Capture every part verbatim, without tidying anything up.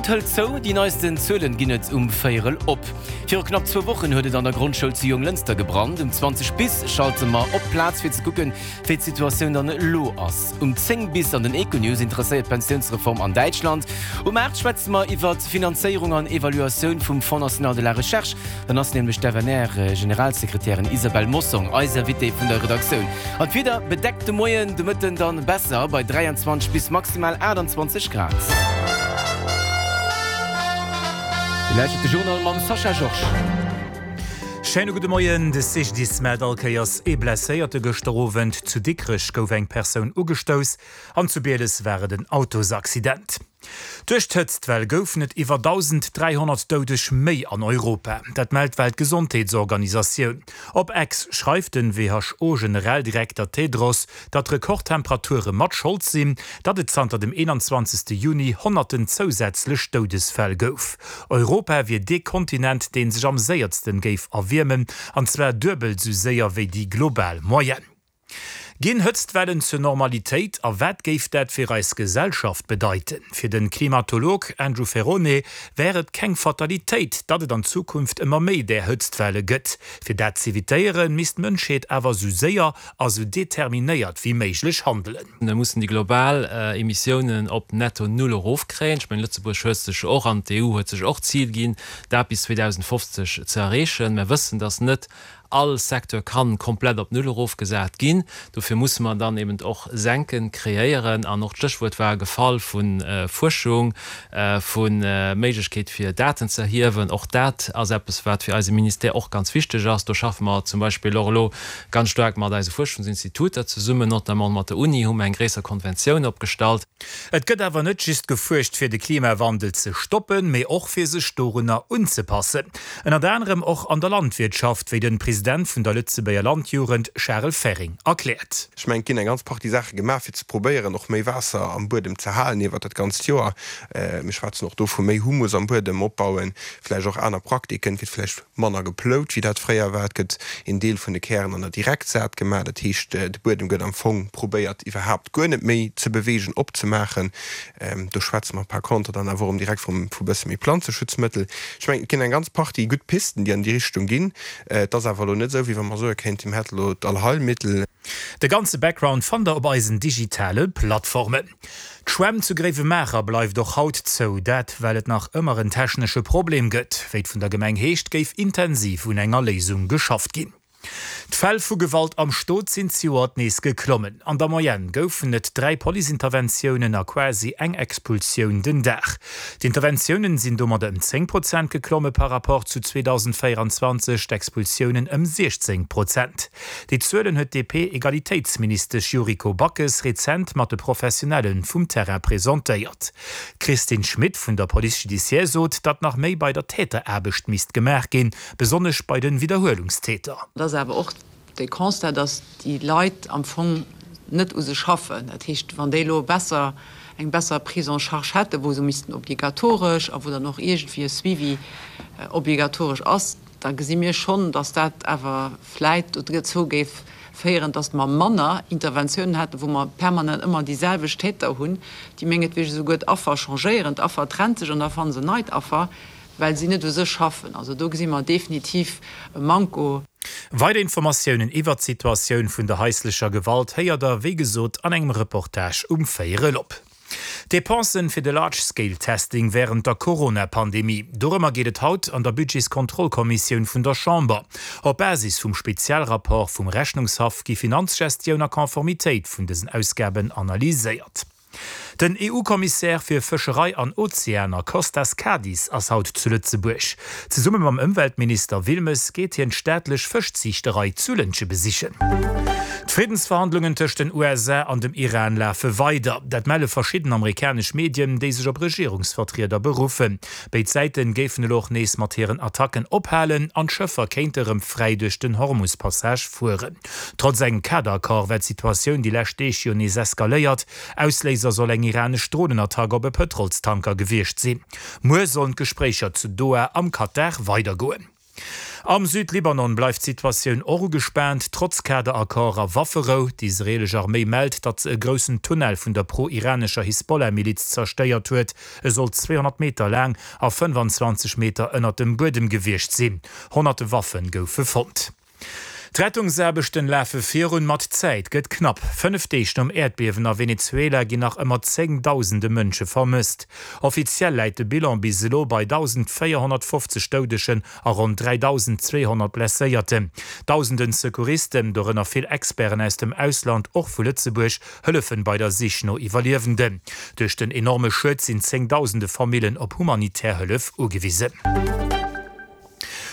D'Schold hëlt zou, déi neisten Zuelen ginn et um Véierel op. Viru knapp zwou Wochen huet et an der Grondschoul zu Jonglënster gebrannt. Um zwanzeg bis schalte mer op d'Plaz fir ze kucken, wéi d'Situatioun dann elo ass. Um zéng bis an den Econews interesséiert d'Pensiounsreform an Däitschland. Um aacht schwätze mer iwwert d'Finanzéierung an Evaluatioun vum Fonds national de la recherche. Dann ass nämlech d'F N R-Generalsekretärin Isabelle Mossong eis Invitée vun der Redaktioun. An d'Wieder bedeckt de Moien, de Mëtten dann besser bei dräianzwanzeg bis maximal aachtanzwanzeg Grad. Dir lauschtert de Journal mam Sascha Georges. Schéine gudde Moien, De C G D I S mellt all Kéiers ee Blesséierte. Gëschter Owend zu Dikrech gouf eng Persoun ugestouss an zu Bieles war et en Autosaccident. Duerch d'Hëtztwell goufen et iwwer dausend dräihonnert Doudeg méi an Europa. Dat mellt d'Weltgesondheetsorganisatioun. Op X schreift den W H O-Generaldirekter Tedros, datt Rekordtemperature mat Schold sinn, datt et zanter dem eenanzwanzegste Juni honnerten zousätzlech Doudesfäll gouf. Europa wier dee Kontinent, dee sech am séiersten géif erwiermen, an zwar duebel sou séier wéi déi global Moyenne. Ginn Hëtztwellen zur Normalitéit a wat géif dat fir eis Gesellschaft bedeiten? Fir den Klimatolog Andrew Ferrone wär et keng Fatalitéit, datt et an Zukunft ëmmer méi där Hëtztwelle gëtt. Fir dat z'evitéieren, misst d'Mënschheet awer sou séier a sou determinéiert wéi méiglech handelen. Mir mussen déi global Emissiounen op netto null erofkréien. Ech mengen, Lëtzebuerg huet sech och an d'E U huet sech och d'Zil ginn, dat bis zweedausendfofzeg ze erreechen. Mir wëssen, datt net all Secteur kann komplett op null erofgesat ginn. Dofir musse mer dann eben och Senken kreéieren an och d'Stéchwuert war gefall vun Fuerschung, vu Méiglechkeet fir Daten ze erhiewen. Och dat ass eppes, wat fir eise Ministère och ganz wichteg ass. Do schaffe mer zum Beispill och elo ganz staark mat eise Fuerschungsinstituter zesummen, notamment mat der Uni hu mer eng gréisser Konventioun opgestallt. Et gëtt awer net just gefuerscht fir de Klimawandel ze stoppen, mee och fir sech dorunner unzepassen. Ënnert anerem och an der Landwirtschaft, wéi den President vun der Lëtzebuerger Landjugend Charel Ferring erkläert. Ech mengen, et ginn eng ganz Partie Saache gemaach fir ze probéieren och méi Waasser am Buedem ze halen iwwer dat ganzt Joer. Mir schwätzen och do vu méi Humus am Buedem opbauen, vläicht och aner Praktiken, et gëtt vläicht manner geplout wéi dat fréier war, et gëtt een Deel vun de Kären an der Direktsaat gemaach, dat heescht de Buedem gëtt am Fong probéiert iwwerhaapt guer net méi ze beweegen, opzemaachen. Do schwätze mer par contre dann awer erëm direkt vum vu bësse méi Planzeschutzmëttel. Ech mengen, et ginn eng ganz Partie gutt Pisten, déi an déi Richtung ginn. Et ass awer elo net esou, wéi wa mer soe kéinten, mir hätte elo d'Allheilmittel. De ganze Background fannt der op eisen digitale Plattformen. D'Schwämm zu Gréiwemaacher bleift och haut zou, dat well et nach ëmmer en technesche Problem gëtt. Wéi et vun der Gemeng heescht, géif intensiv un enger Léisung geschafft ginn. D'Fäll vu Gewalt am Stot sinn zejoert nees geklommen. An der Moyenne goufen et dräi Policeinterventiounen a quasi eng Expulsioun den Dag. D'Interventiounen sinn domat ëm zéng Prozent geklomme par rapport zu zweedausendvéieranzwanzeg, d'Expulsiounen ëm siechzéng Prozent. Déi Zuelen huet d'D P-Egalitéitsministesch Yuriko Backes rezent mat de Professionelle vum Terrain presentéiert. D'Christine Schmit vun der Police judiciaire sot, datt nach méi bei der Täteraarbecht misst gemaach ginn, besonnesch bei de Widderhuelungstäter. Et ass awer och de Constat, datt déi Leit am Fong net u sech schaffen. Dat heescht, wann déi elo besser, eng besser Prise en charge hätten, wou se missten obligatoresch a wou dann och iergendwéi e Suivi obligatoresch ass, da gesi mir schonn, datt dat awer vläit dozou géif féieren, datt mer manner Interventiounen hätten, wou mer permanent ëmmer déi selwecht Täter hunn, déi mengetwegen esouguer d'Affer changéieren. D'Affer trennt sech an da fanne se en neit Affer, well si net u sech schaffen. Also do gesi mer definitiv e Manko. Weider Informatiounen iwwert d'Situatioun vun der haislecher Gewalt héiert der, wéi gesot, an engem Reportage um Véierel op. D'Depensen fir de Large-Scale-Testing wärend der Corona-Pandemie. Dorëmmer geet et haut an der Budgetskontrollkommissioun vun der Chamber. Op Basis vum Spezialrapport vum Rechnungshaff gi Finanzgestioun a Konformitéit vun dësen Ausgaben analyséiert. Den E U-Kommissär fir Fëscherei an Ozeaner Costas Kadis ass haut zu Lëtzebuerg. Zesumme mam Ëmweltminister Wilmes geet hien d'staatlech Fëschziichterei zu Lëntge besichen. D'Friddensverhandlungen tëscht den U S A an dem Iran lafe weider. Dat melle verschidden amerikanesch Medien, déi sech op Regierungsvertrieder beruffen. Béid Säite géifen elo och nees mat hiren Attacken ophalen an d'Schëffer kéinte rëm fräi duerch den Hormus-Passage fueren. Trotz engem Kaderaccord war d'Situatioun déi lescht Deeg jo nees eskaléiert. Ausléiser soll eng iranesch Dronenattack op e Pëtrolstanker gewiescht sinn. Muer sollen d'Gespréicher zu Doha am Katar weidergoen. Am Südlibanon bleift d'Situatioun och ugespaant, trotz Kaderaccord a Wafferou. D'israeelesch Arméi mellt, datt se e groussen Tunnel vun der pro-iranescher Hisbollah-Miliz zerstéiert huet. E soll zweehonnert Meter laang a fënnefanzwanzeg Meter ënnert dem Buedem gewiescht sinn. Honnerte Waffe goufe fonnt. D'Rettungsaarbechten lafe virun, ma d'Zäit gëtt knapp. Fënnef Deeg nom Äerdbiewen a Venezuela ginn nach ëmmer zéngdausende Mënsche vermësst. Offiziell läit de Bilan bis elo bei dausendvéierhonnertfofzeg Doudegen a ronn dräidausendzweehonnert Blesséierten. Dausenden Secouristen, dorënner vill Experten aus dem Ausland, och vu Lëtzebuerg, hëllefen bei der Sich no Iwwerliewenden. Duerch den enorme Schued sinn zéngdausende Famillen op humanitär Hëllef ugewisen.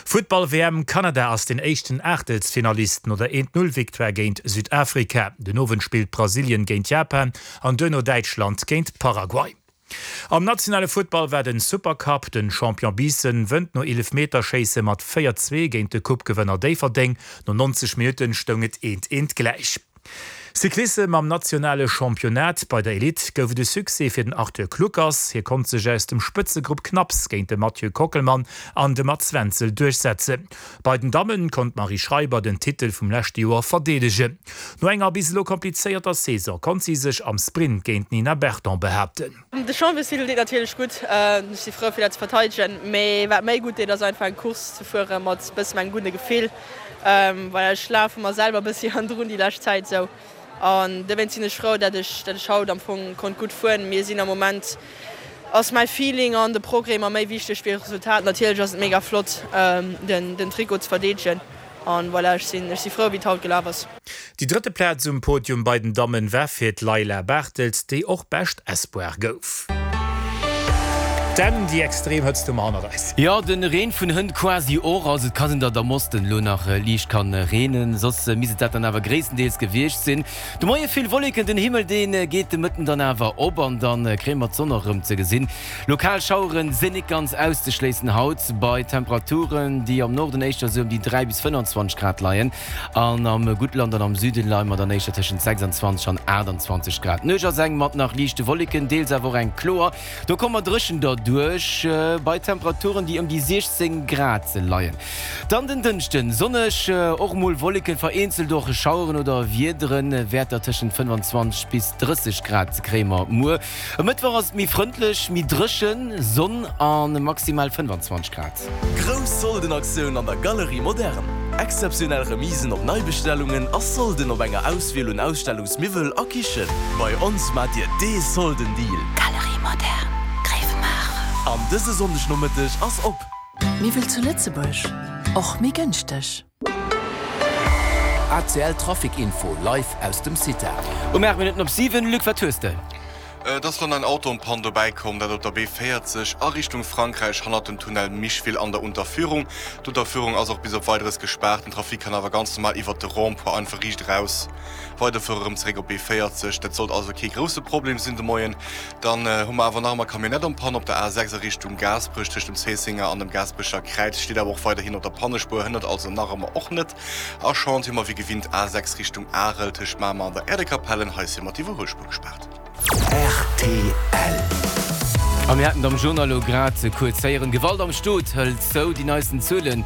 Futtball-W M, Kanada ass den éischten Aachtelsfinalist no der Eent-Null-Victoire géint Südafrika. Den Owend spillt Brasilien géint Japan an duerno Däitschland géint Paraguay. Am nationale Futtball war den Supercup, Den Champion Biissen wënnt no Eelefmeterschéisse mat véier, zwee géint de Coupe-Gewënner Déifferdeng. No neunzeg Minutten stoung et eent, eent gläich. Cyclissem Am nationale Championnat bei der Elite gouf et e Succès fir den Arthur Kluckers. Hie konnt sech aus dem Spëtzegrupp knapps géint de Mathieu Kockelmann an de Mats Wenzel duerchsetzen. Bei den Damme konnt d'Marie Schreiber den Titel vum leschte Joer verdeedegen. No enger bis elo komplizéierter Saison konnt si sech am Sprint géint d'Nina Berton behaapten. De Championstitel deet natierlech gutt, ech si frou fir dat ze verteidegen, mee wat méi gutt deet ass einfach eng Course ze fuere mat bëssen engem gudde Gefill, well ech lafe mer selwer bëssi hannendrun déi lescht Zäit esou an dowéinst sinn ech frou, dat ech dat ech haut am Fong konnt gutt fueren. Mir sinn am Moment ass mäi Feeling an de Progrès mer méi wichteg wéi Resultat. Natierlech ass et mega flott den den Trikot ze verdeedegen an voilà, ech sinn ech si frou wéi et haut gelaf ass. Déi drëtte Plaz um Podium bei den Dammen war fir d'Leila Barthels, déi och bescht Espoir gouf. Denn déi extrem Hëtzt hu mer hannert eis. Jo, den Reen vun hënt quasi och. Also et ka sinn, datt am Osten elo nach liicht kann reenen, soss misst et dat dann awer gréisstendeels gewiescht sinn. De Moie vill Wolleken, den Himmel dee geet de Mëtten dann awer op an dann kréie mer d'Sonn och erëm ze gesinn. Lokal Schaueren sinn nik ganz auszeschléissen haut, bei Temperaturen déi am Norden éischter sou ëm déi dräi bis fënnanzwanzeg Grad leien an am Guttland an am Süden leie mer dann éischter tëschent sechsanzwanzeg an aachtanzwanzeg Grad. D'Nuecht ass eng mat nach liichte Wolleken, deels awer och eng kloer. Do komme mer dréchen derduerch, bei Temperaturen, déi ëm déi siechzéng Grad leien. Dann den Dënschden, sonneg, och mol Wolleken, vereenzelt och Schaueren oder Wiederen, Wäerter tëschent fënnefanzwanzeg bis drësseg Grad kréie mer muer. E Mëttwoch ass et méi frëndlech, méi dréchen, Sonn a maximal fënnefanzwanzeg Grad. Grouss Soldenaktioun an der Galerie Moderne! Exzeptionell Remisen op Neibestellungen a Solden op enger Auswiel un Ausstellungsmiwwel a Kichen. Bei ons maacht Dir dee Soldendeal! Galerie Moderne, Gréiwemaacher. An dëse Sonndegnomëtteg ass op! Miwwel zu Lëtzebuerg, och méi gënschteg. A C L Trafic Info live aus dem CITA. Um aacht Minutten op siwen, Luc, wat hues de? Et ass elo nach en Auto en panne dobäi komm, dat op der B véierzeg a Richtung Frankräich hannert dem Tunnel Micheville an der Unterführung. D'Unterführung ass och bis op Weideres gespaart. Den Trafic kann awer ganz normal iwwert de Rond-point einfach riicht eraus weiderfuere rëm zeréck op B véierzeg. Dat sollt also kee grousse Problem sinn de Moien. Dann hu mer awer nach ëmmer Camionnette en panne op der A sechs a Richtung Gaasperech tëscht dem Zéissenger an dem Gaasperecher Kräiz, steet awer och weiderhin op der Pannespuer, hënnert also nach ëmmer och net. A Chantier hu mer wéi gewinnt A sechs Richtung Arel tëscht Mamer an der Erdekapellen, hei si mer d'Iwwerhuelspuer gespaart. Rtl. A mir haten et am Journal elo grad kuerz héieren, Gewalt am Stot hëlt zou. Déi neisten Zuelen,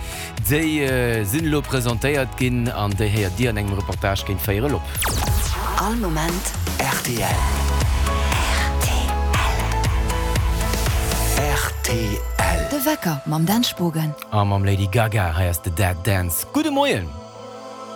déi sinn elo presentéiert ginn an déi héiert Dir an engem Reportage géint véierel op. All Moment rtl. Rtl. De Wecker mam Dan Spogen. A mam Lady Gaga, hei ass de Dead Dance. Gudde Moien.